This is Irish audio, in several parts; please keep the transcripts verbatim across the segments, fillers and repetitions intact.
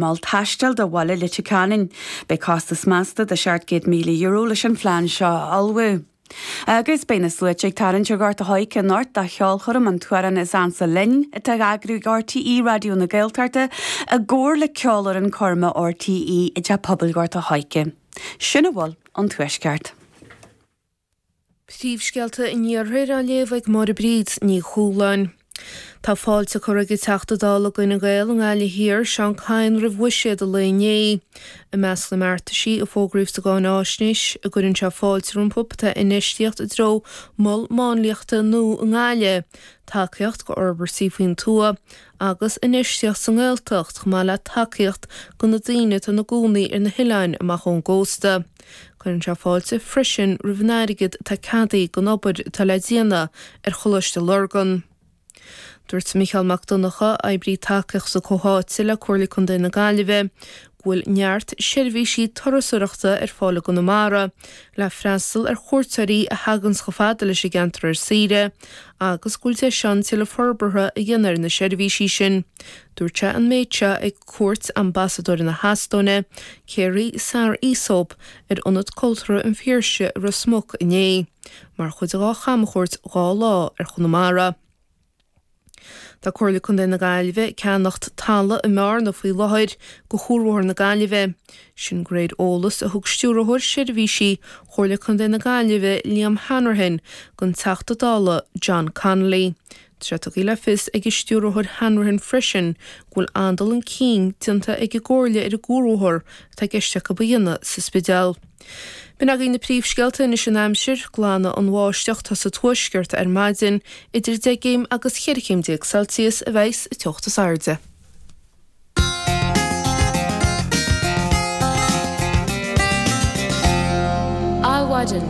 Mol taistil do Bhaile Leitir Ceanainn. Beidh costas measta de seacht gcéad míle euro leis an phlean seo a ullmhú. Agus beidh na sluaite ag tarraingt ar Ghort a' Choirce anocht do cheolchoirm an t-amhrán is ansa linn atá á eagrú ag RTÉ Raidió na Gaeltachta i gcomhar le Ceolfhoireann Coirme RTÉ i dTeach Pobail Ghort a' Choirce. Sin a bhfuil ón Tuaisceart. Príomhscéalta an Iarthair á léamh ag Máire Bríd Ní Chualáin. Tá fáilte curtha ag an Teachta Dála d'Fhine Gael i nGaillimh Thiar, Seán Kyne roimh bhuiséad an lae inné. I measc na mbeartaisí a fógraíodh sa gcáináisnéis a gcuireann sé fáilte rompu tá infheistíocht i dtreo mol máinliachta nua i nGaillimh, tacaíocht go fhorbairtí faoin tuath agus infheistíocht sa nGaeltacht chomh maith le tacaíocht do na daoine atá ina gcónaí ar na hoileáin amach ón gcósta. Cuireann sé fáilte freisin roimh an airgead atá ceadaithe don obair atá le déanamh ar Choláiste Lurgan. Dúirt Micheál Mac Donncha, oibrí tacaíochta comhtháite le Comhairle Contae na Gaillimhe, go bhfuil neart seirbhísí turasóireachta ar fáil i gConamara le freastal ar chuairteoirí a thaganns chomh fada leis an gceantar ar saoire agus go bhfuil deis ann tuilleadh forbartha a dhéanamh ar na seirbhísí sin. Dúirt sé an méid seo ag cuairt Ambasadóir na hEastóine, Kairi Saar-Isop, ar Ionad Cultúrtha an Phiarsaigh i Ros Muc inné, mar chuid dá chamchuairt dhá lá ar Chonamara. Tá Comhairle Contae na Gaillimhe ag ceannacht talamh i mBearna faoi láthair do Chuarbhóthar na Gaillimhe. Sin de réir eolas a thug Stiúrthóir Seirbhísí Chomhairle Contae na Gaillimhe Liam Hanrahan don Teachta Dála John Connolly. Tá sé tugtha le fios ag an Stiúrthóir Hanrahan freisin go bhfuil an-dul chun cinn déanta ag an gComhairle ar an gcuarbhóthar atá i gceist acu a dhéanamh sa Spidéal. B'in agaibh na príomhscéalta anois an aimsir, glanfaidh an bháisteach atá sa tuaisceart ar maidin, idir deich gcéim agus cheithre chéim déag Celsius a bheas an teocht is airde. Adhmhaidin.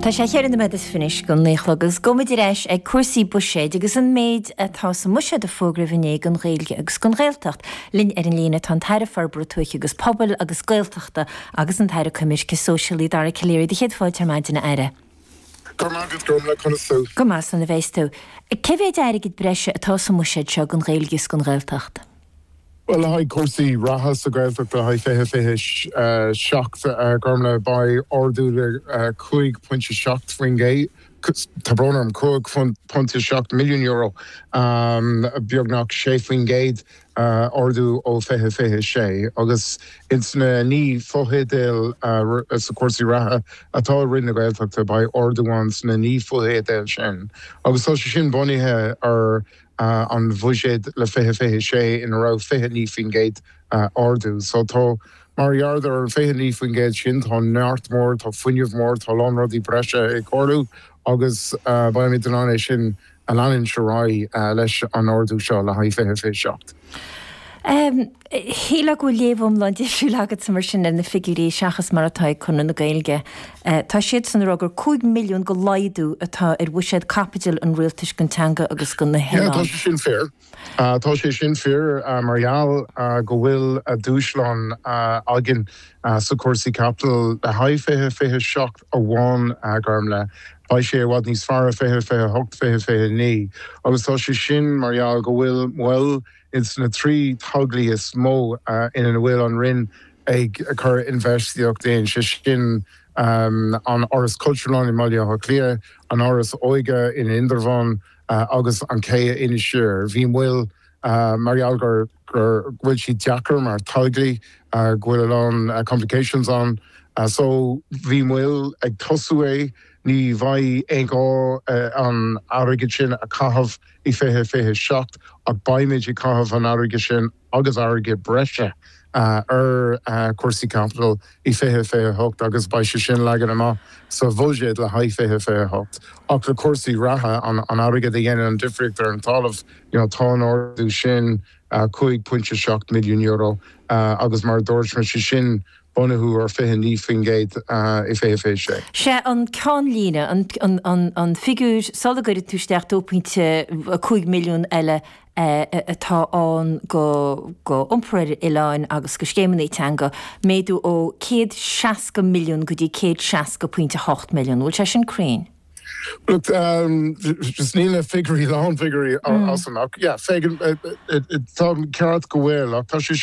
Tá sé cheithre nóiméad is fiche anois go naoi a chlog agus gabhfaimid ar ais ag cúrsaí buiséid agus an méid atá sa mbuiséad a fógraíodh inné don Ghaeilge agus don Ghaeltacht. Linn ar an líne tá an tAire Forbartha Tuaithe agus Pobail agus Gaeltachta agus an tAire Coimirce Sóisialaí Dara Calleary. Do chéad fáilte ar maidin, a Aire. Go raibh maith agat, Gormlaith, conas tú? Go maith, slán a bheas tú. Cé mhéid airgid breise atá sa mbuiséad seo don Ghaeilge is don Ghaeltacht? Bhuel, le haghaidh cúrsaí reatha sa Ghaeltacht le haghaidh fiche fiche seacht, Gormlaith, beidh ardú de cúig pointe seacht faoin gcéad, tá brón orm, cúig pointe seacht milliún euro, beagnach sé faoin gcéad ardú ó fiche fiche sé. Agus ins na naoi fotheideal sa cúrsaí reatha atá i Roinn na Gaeltachta, beidh ardú ann sna naoi fotheideal sin. Agus tá sé sin bunaithe ar an bhuiséad le fiche fiche sé ina raibh fiche naoi faoin gcéad ardú. So tá, mar gheall ar an fiche naoi faoin gcéad sin, tá neart mór, tá fuinneamh mór, tá a lán rudaí breise ag tarlú agus beimid in ann é sin a leanúint ar aghaidh leis an ardú seo le haghaidh fiche fiche seacht. Shílfeá go bhfuil léamh iomlán difriúil agatsa mar sin ar na figiúirí seachas mar atá ag Conradh na Gaeilge. Tá siadsan ag rá gur cúig milliún de laghdú atá ar bhuiséad caipitil an rialtais don teanga agus do na Yeah, tá hoileáin. sé sin fíor. Tá sé sin fíor mar gheall go bhfuil dúshlán againn sa cúrsaí caipitil le haghaidh fiche fiche seacht amháin, Gormlaith. Beidh sé i bhfad níos fearr i fiche fiche hocht, fiche fiche naoi agus tá sé sin mar gheall go bhfuil moill ins na trí toghlaí is mó ina bhfuil an Roinn ag cur infheistíocht in, sé sin an Áras Cultúrlann i mBaile Átha Cliath, an Áras Óige in Indreabhán agus an Cé i Inis Oírr. Bhí moill mar gheall gur go bhfuil siad deacair mar toghlaí, go bhfuil a lán complications ann. So bhí moill ag tosú é, ní bheidh aon ghá an airgead sin a chaitheamh i fiche fiche seacht ach beimid ag caitheamh an airgead sin agus airgead breise ar chúrsaí caipitil i fiche fiche hocht agus beidh sé sin leagan amach sa bhuiséad le haghaidh fiche fiche hocht. Ach le cúrsaí reatha, an airgead a dhéanann an difríocht ar an talamh, you know, tá an ardú sin cúig pointe seacht milliún euro agus mar a dúirt mé, sé sin bunaithe ar fiche naoi faoin gcéad i fiche fiche sé. Sé an ceannlíne, an figiúr sula gcuireann tú isteach dó pointe cúig milliún eile atá ann go iompar ar oileáin agus go scéimeanna teanga, méadú ó céad seasca milliún go dtí céad seasca pointe hocht milliún. Bhfuil sé sin cruinn? Look, um, just níl na figiúirí lánfhigiúirí mm. as amach. Yeah, tá ceart go bhfuil ach tá sé sin